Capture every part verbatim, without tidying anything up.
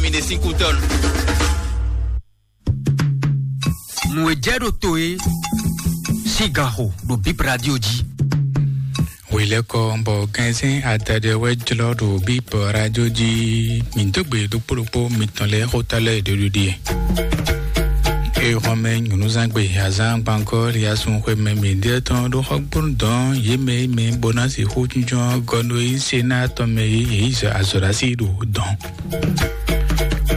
mi ɖe sín kútɔ́nu. Nǔ e jɛ ɖo to é sín ganxo ɖo Bip Radio jí. Hwelɛ́kɔ bɔ gɛnsɛn adadɛ wɛ jlɔ́ ɖo Bip Radio jí. Mǐ dó gbe ɖokpó ɖokpó mitɔn lɛ́ɛ xóta lɛ́ɛ ɖo ɖiɖi. Eye xɔmɛ nyɔ̌nuzangbe azán gbàngɔ́ liasun xwemɛ mǐ ɖe tɔn ɖó xɔgbónu dɔn yě mɛ e mɛ bó ná sixú jínjɔ́n gɔ́ nú é nyí Senáa tɔn mɛ e yě yi azɔ̌ ɖo así ɖo dɔn.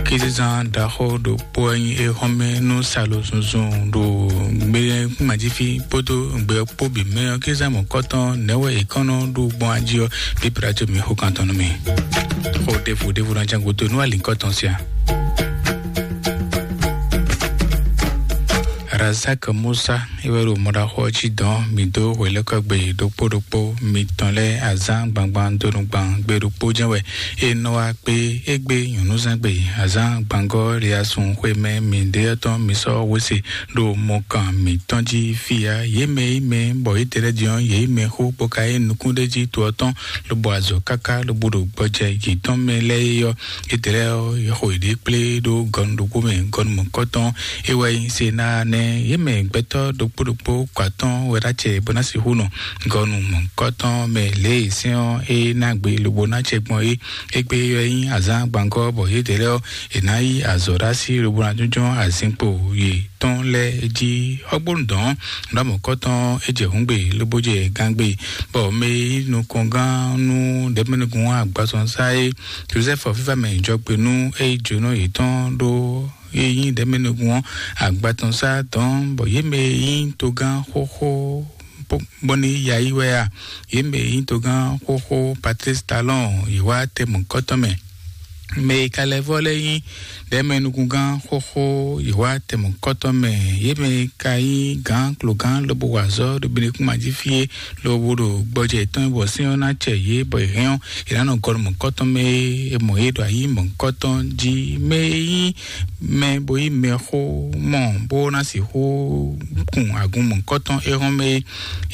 Kézezán ɖaxó ɖokpó wɛ nyí éhɔ́nmɛ nú salo zunzun ɖo gbé kúnmajífí kpódó gbɛ kpó bǐ mɛ ɔ́, kézezán mɔ̌kɔtɔn nɛ̌ wɛ è kɔn nɔ ɖu gbɔn ají ɔ́, bíbla jó mi xó kan tɔn nú mi. Xó ɖěvo ɖěvo ná ján gúdo nú alǐkɔtɔn sia. Razak Musa é wɛ ɖo mɔɖaxó ɔ́ jí dɔn mǐ dó hwelɛ́kɔ́gbe ɖokpó ɖokpó mitɔn lɛ́ɛ azán gbangban donu gban gbe ɖokpó jɛ́n wɛ é nɔ wá kpé égbé nyɔ̌nuzán gbe azán gbangɔ́ liasun xwemɛ mǐɖéyɔ́ tɔn mi sɔ́ hwesé ɖo mɔkan mǐtɔn jí fí ǎ. Yě mɛ e mɛ bɔ yě tɛ́ lɛ́ din ɔ́, yě mɛ xó bó ka yí nukún ɖé jí to ɔ́ tɔn, lobo azɔ̌ káká lobo ɖo gbɔjɛ yětɔn mɛ lɛ́ɛ é ɔ́, yě tɛ́ lɛ́ɛ ɔ́, yě xo yěɖée kplé ɖó gɔnu ɖokpó mɛ, gɔnu mɔ̌kɔtɔn é wɛ nyí Senáa nɛ́. Yě mɛ gbɛtɔ́ ɖokpó ɖokpó kɔ atɔ́ɔ́n wɛ ɖó acɛ bó ná sixú nɔ gɔnu mɔ̌kɔtɔn mɛ lě e sɛ́n ɔ́ é ná gbe lobo ná acɛ gbɔn é. Égbé ɔ́ nyí azǎn gbangɔ́ bɔ yědɛɛ lɛ́ɛ ɔ́, è nǎ yí azɔ̌ ɖó así lobo ná jínjɔ́n azinkpo yětɔn lɛ́ɛ jí. Xɔ́gbónu dɔn ɖɔ mɔ̌kɔtɔn é jɛ hǔngbe lobo jɛ gángbe, bɔ mɛ e nyí nukɔngán nú ɖɛ̌mɛnúgun agbansɔnsá é, Jozɛ́fu fífá mɛ jɔgbe nú é yí jǒnɔ yětɔn ɖó é nyí ɖɛ̌mɛnúgun ɔ́ agbatɔnsá dɔn, bɔ yě mɛ e nyí togán xóxó bɔ ní ya yi wɛ a? Yě mɛ e nyí togán xóxó Patlísi Talɔ́ɔn yě wá tɛ mɔ̌kɔtɔn mɛ. Mɛ e ka lɛ́ vɔ́ lɛ́ɛ nyí ɖɛ̌mɛnúgúngán xóxó yě wá tɛ mɔ̌kɔtɔn mɛ. Yě mɛ e ka nyí gǎn klogán lobo wa azɔ̌ ɖo Benekúnma jí fí é, lobo ɖo gbɔjɛ yětɔn bɔ sɛ́n ɔ́ ná cɛ yě bɔ yě hɛn ɔ́, yě ná nɔ gɔnu mɔ̌kɔtɔn mɛ é, è mɔ yě ɖo ayǐ mɔ̌kɔtɔn jí. Mɛ e nyí mɛ bo yí mɛxó mɔ bó ná sixú kun agun mɔ̌kɔtɔn é hɔn mɛ é.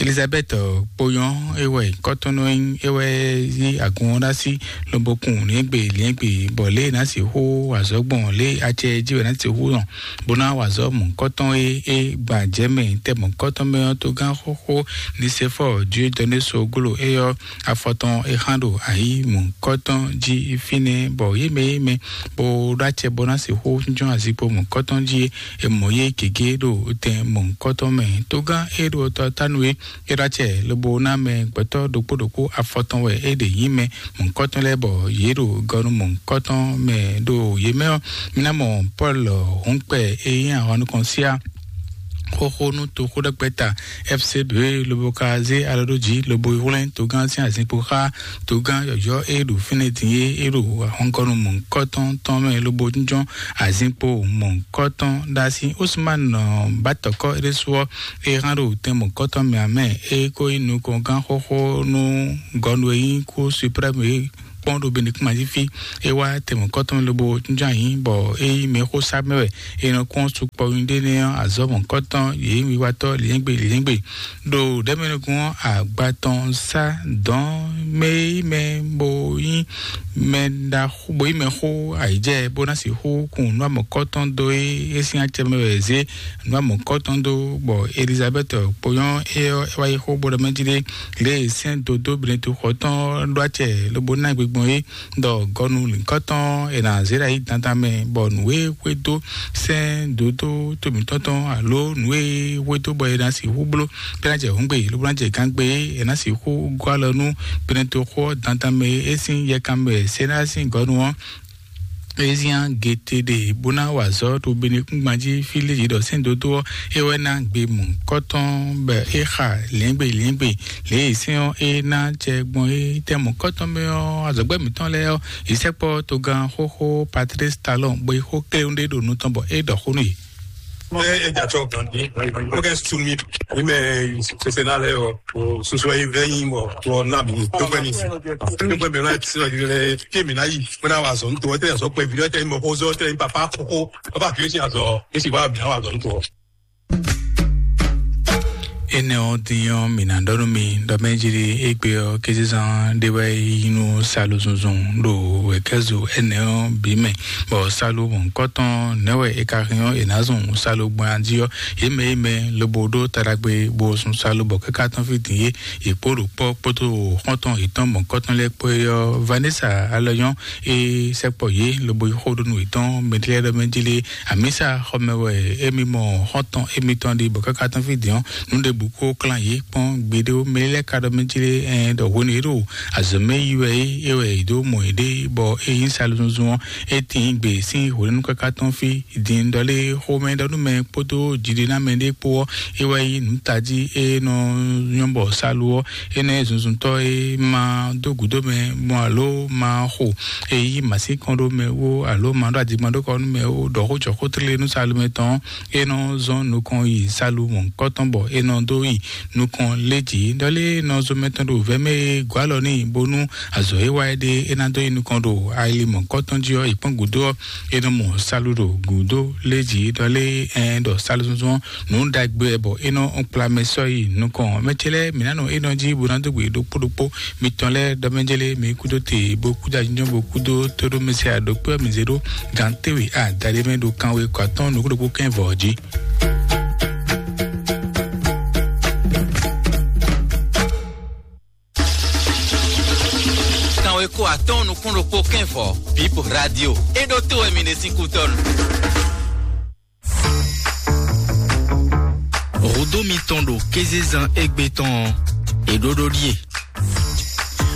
Elizabɛ́ti kponyɔ́ é wɛ kɔ́tɔ́nɔ é wɛ yí agun ɔ́ ɖó así, lobo kun liɛ́ngbe liɛ́ngbe, bɔ lě e è nǎ sixú wa azɔ̌ gbɔn lě e acɛ jí wɛ è nǎ sixú nɔ bó ná wa azɔ̌ mɔ̌kɔtɔn é, é gba jɛ̌ mɛ tɛ mɔ̌kɔtɔn mɛ ɔ́, togán xóxó Nisefɔ́ɔ Diodɔnéso gló é ɔ́, afɔ tɔn é xán ɖo ayǐ mɔ̌kɔtɔn jí fínɛ́, bɔ yě mɛ yě mɛ bó ɖó acɛ bó ná sixú jínjɔ́n azinkpo mɔ̌kɔtɔn jí é, è mɔ yě gěgé ɖo tɛn mɔ̌kɔtɔn mɛ. Togán é ɖo tɔ tánu é, é ɖó acɛ lobo ná mɛ gbɛtɔ́ ɖokpó ɖokpó afɔ tɔn wɛ é ɖe nyí mɛ mɔ̌kɔtɔn lɛ́ɛ, bɔ yě ɖo gɔnu mɔ̌kɔtɔn mɛ ɖo yě mɛ ɔ́. Mi ná mɔ Pɔ́lu hǔnkpɛ e nyí ahwan nukɔn síá xóxó nú toxó ɖɛkpɛ ta F C B lobo ka zé alɔ ɖó jǐ lobo hwlɛ́n togán sín azinkpo xá togán yɔ̌yɔ́ e ɖo fínɛ́ din é, é ɖo ahɔngɔ́nu mɔ̌hunkɔtɔn tɔn mɛ lobo jínjɔ́n azinkpo mɔ̌hunkɔtɔn ɖó así. Usman Batɔkɔ é ɖésú ɔ́, é hán ɖo tɛn mɔ̌hunkɔtɔn mɛ ǎ mɛ, é ko nyí nukɔngán xóxó nú gɔnu e nyí kú suprɛ́mu é kpɔ́n ɖo Benekúnma jí fí. É wá tɛmɔ̌kɔ́tɔn lobo jínjɔ́n ayǐ, bɔ é nyí mɛxósá mɛ wɛ. È nɔ kpɔ́n sukpɔ́ nyí ɖé nɛ́ ɔ́, azɔ̌ mɔ̌kɔ́tɔn yě nyí wiwatɔ́ lǐnyɛ́gbe lǐnyɛ́gbe. Ɖo ɖɛ̌mɛnukun ɔ́, agbatɔn sá dɔ̌n mɛ e nyí mɛ bó nyí mɛ ɖaxó bó nyí mɛxó ayǐjɛ bó ná sixú kun nǔ amɔ̌kɔ́tɔn dó é, é sín acɛ mɛ wɛ è zě nǔ amɔ̌kɔ́tɔn dó, bɔ Elizabɛ́ti kponyɔ́ é ɔ́, é wá yi xó bó ɖɔ mɛ jí ɖé lě e sɛ́n dodó Benɛtu xɔ tɔn ɔ́ ɖó acɛ lobo ná gbigbɔn é, ɖɔ gɔnu lǐnkɔtɔn è nǎ zé ɖo ayǐ dandan mɛ, bɔ nǔ e xwedó sɛ́n dodó to mǐtɔn tɔn alo nǔ e xwedó bɔ è nǎ sixú bló bó ná jɛ hǔngbe lobo ná jɛ gángbe é, è nǎ sixú gɔ́ alɔ nú Benɛtu xɔ dandan mɛ é sín yɛkan mɛ Senáa sín gɔnu ɔ́. Ezian gete ɖe bó ná wa azɔ̌ ɖo Benekúngban jí fí lě yě ɖɔ sɛ́n dodó ɔ́, é wɛ ná gbe mɔ̌kɔ́tɔn bɔ é xa lǐɛ́ngbe lǐɛ́ngbe lě e sɛ́n ɔ́ é ná jɛ gbɔn é tɛ́ mɔ̌kɔ́tɔn mɛ ɔ́, azɔ̌gbɛ́ mǐtɔn lɛ́ɛ ɔ́, yě sɛkpɔ́ togán xóxó Patlísi Talɔn bó yi xó kléwún ɖé ɖo nu tɔn bɔ é ɖɔ xó nú yě. Ɛ ɛ dza tsɔ gandi. Oke sumi. Ime sese na lɛ o. O susu yi vɛ yi mɔ. O na mi. To gbɛ ni. To gbɛ mi na ti sɔ yi lɛ. Ke mi na yi. Ko na wa zɔn to. Te zɔ kpɛ vi te mɔ ko zɔ te papa ko. Papa ki si azɔ. Esi wa mi na wa zɔn to. Énɛ́ ɔ́ din ɔ́, mǐ ná ɖɔ nú mi ɖɔ mɛ jí ɖi égbé ɔ́, kézezán ɖé wɛ yí nú salu zunzun ɖo wɛ̌kɛ́zo énɛ́ ɔ́ bǐ mɛ, bɔ salu mɔ̌hunkɔtɔn nɛ̌ wɛ è ka hɛn ɔ́, è nǎ zun salu gbɔn jí ɔ́, yě mɛ yě mɛ lobo ɖó taɖagbe bo sun salu bɔ káká tɔn fí din é, yě kpó ɖo kpɔ́ kpódó xɔ́ntɔn yětɔn mɔ̌hunkɔtɔn lɛ́ɛ kpó é ɔ́, Vanessa Alɔyɔn e sɛkpɔ yě lobo yi xó ɖó nú yětɔn mɛtlɛ́ɖɔmɛjlé amisa xɔmɛ wɛ émi mɔ xɔ́ntɔn émitɔn ɖi bɔ káká tɔn fí din ɔ́, nǔ ɖěbǔ kó klán yě kpɔ́n gbeɖé ó. Mɛ lɛ́ɛ ka ɖɔ mɛjlé ɛn ɖɔ hwenu e ɖo azɔ̌ mɛ yi wɛ é, é wɛ yě dó mɔ yěɖée bɔ é nyí salu zunzun ɔ́, é tín gbe sín hwenu káká tɔn fí din ɖɔlé xomɛ ɖɔ nú mɛ kpódó jiɖinámɛ ɖé kpó ɔ́, é wɛ nyí nǔ tají e nɔ nyɔ́ bɔ salu ɔ́, énɛ́ zunzuntɔ́ e ma dó gǔdo mɛ gbɔn alo ma xo e yí mǎsínkɔn ɖó mɛ wó alo ma ɖó adigbɔn ɖó kɔ nú mɛ wó ɖɔ xó jɔ xó tlélé nú salu mɛ tɔn, é nɔ zɔn nukɔn yi salu mɔ̌hunkɔtɔn bɔ é nɔ dó yi nukɔn lé jǐ. Ɖɔlé nɔ zɔn mɛ tɔn ɖo vɛ̌ mɛ e gɔ̌ alɔ n'i bónú azɔ̌ e wa é ɖe é ná dó yi nukɔn ɖo ali mɔ̌hunkɔtɔn jí ɔ́, yi kpɔ́n gǔdo ɔ́, é nɔ mɔ salu ɖo gǔdo lé jǐ. Ɖɔlé ɛn ɖɔ salu zɔnzɔn nǔ ɖagbe wɛ bɔ é nɔ kplá mɛ sɔ́ yi nukɔn. Mɛ ce lɛ́ɛ mǐ ná nɔ é nɔ jí bó ná dó gbe ɖokpó ɖokpó mitɔn lɛ́ɛ ɖɔ mɛ jélé mi kúdó te bó kúdó ajínjɔ́n bó kúdó tóɖó mɛ se aɖokpé ɔ́ mi zé ɖó gǎn téwe adaɖé mɛ ɖo kanwe kɔ atɔ́ɔ́n nukú ɖokpó kɛ́n vɔ̌ jí. Kanwe kó atɔ́ɔ́n nukún ɖokpó kɛ́n vɔ̌, Bip Radio, é ɖó tó wɛ mi ɖe sín kútɔ́nu. Hǔdó mitɔn ɖo kézezán égbé tɔn ɔ́, è ɖó ɖó ɖíe.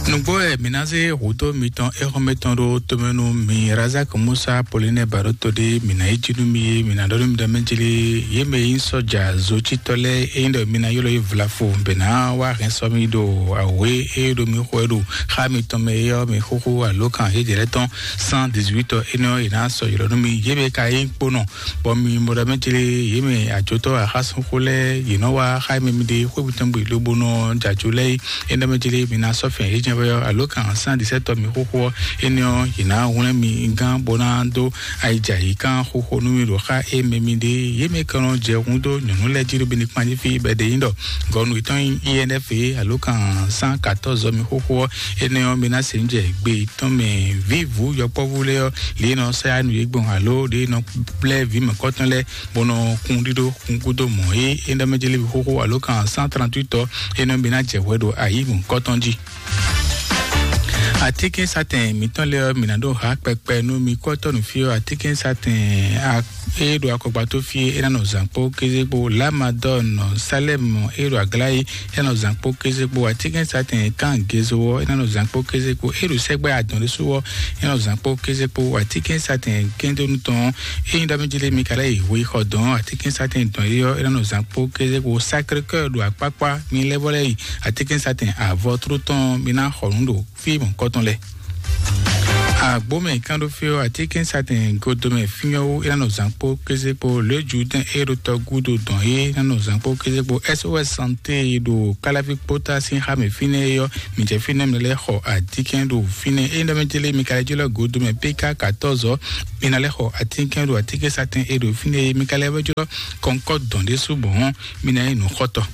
Nǔgbó wɛ mǐ ná zé hǔdó mitɔn éhɔ́mɛ tɔn ɖó tomɛ nú mi Razak Musa Pauline Baroto ɖé mǐ ná yi jí nú mi é, mǐ ná ɖɔ nú mi ɖɔ mɛ jlé yě mɛ e nyí sɔ́ja zocítɔ́ lɛ́ɛ é nyí ɖɔ mi ná ylɔ́ yě vlafo bɛ ná wá hɛn sɔ́ mi ɖo awě e ɖo mi xo ɛ ɖo xá mitɔn mɛ é ɔ́, mi xóxó alǒkan yějɛ lɛ́ɛ tɔn cent dix-huit ɔ́, énɛ́ ɔ́, è nǎ sɔ́ ylɔ́ nú mi. Yě mɛ ka nyí kponɔ, bɔ mi mɔ ɖɔ mɛ jlé yě mɛ ajotɔ́ axásúnxó lɛ́ɛ yě nɔ wá xá mɛ mi ɖe xwé mitɔn gbe lobo nɔ jɛ ajo lɛ́ɛ é. Énɛ́ mɛ jlé mi ná sɔ́ fɛn yě jɛ́n vɛ ɔ́, alǒkan cent dix-sept ɔ́ mi xóxó ɔ́, énɛ́ ɔ́, yě ná hwlɛ́n mi gán bó ná dó ayijɛ ayǐkán xóxó nú mi ɖo xá é mɛ mi ɖe. Yě mɛ ka nɔ jɛ hun dó nyɔ̌nu lɛ́ɛ jí ɖo Benin kpán jí fí bɔ è ɖe nyí ɖɔ gɔnu yětɔn nyí I N F é, alǒkan cent quatorze ɔ́ mi xóxó ɔ́, énɛ́ ɔ́, mi ná se nǔ jɛ gbe yětɔn mɛ. Vǐvǔ yɔkpɔ́vú lɛ́ɛ ɔ́, lě e nɔ sɛ́ nú yě gbɔn alo lě e nɔ blɛ́ vǐ mɔ̌kɔtɔn lɛ́ɛ bó nɔ kún ɖíɖó kún gúdo mɔ̌ é, é ɖɔ mɛ jlé xóxó alǒkan cent trente-huit ɔ́, é nɔ mi ná jɛ hwɛ ɖo ayǐ mɔ̌kɔtɔn jí. Atínkɛnsatɛn mǐtɔn lɛ́ɛ ɔ́, mǐ ná ɖó ha kpɛkpɛ nú mi kɔ́tɔ́ nǔ fí ɔ́, atínkɛnsatɛn a- e ɖo akɔgbató fí é ná nɔ zǎn kpó kéze kpó, Lamadɔn Salɛm e ɖo Aglayi é ná nɔ zǎn kpó kéze kpó, atínkɛnsatɛn kan Gezo ɔ́ é ná nɔ zǎn kpó kéze kpó, e ɖo sɛgbɛ adɔn ɖésú ɔ́ é ná nɔ zǎn kpó kéze kpó, atínkɛnsatɛn kɛndonu tɔn e nyí ɖɔ mí jlé mi ka lɛ́ yi hwe xɔ dɔn, atínkɛnsatɛn dɔn é ɔ́ é ná nɔ zǎn kpó kéze kpó, Sacré-Cœur ɖo akpákpá mi lɛ́ vɔ lɛ́ yi, atínkɛnsatɛn avɔ tló tɔn mi ná xɔ nǔ ɖo fí mɔ̌kɔtɔn lɛ́ɛ. Agbomɛ kan ɖo fí ɔ́, atínkɛnsatɛn godomɛ fínyɔ́wó é ná nɔ zǎn kpó kéze kpó, lě Judɛn é ɖo tɔ gúdo dɔn é ná nɔ zǎn kpó kéze kpó, S O S Santé e ɖo Káláví kpótá sín xá mɛ fínɛ́ é ɔ́, mi jɛ fínɛ́ mi lɛ́ xɔ atínkɛn ɖo fínɛ́. É ɖɔ mɛ jélé mi ka lɛ́ jólɔ godomɛ P K quatorze ɔ́, mi ná lɛ́ xɔ atínkɛn ɖo atínkɛnsatɛn e ɖo fínɛ́ é, mi ka lɛ́ wɛ jólɔ kɔnkɔ́ dɔn ɖésú bɔn mi ná nyí nǔxɔtɔ́.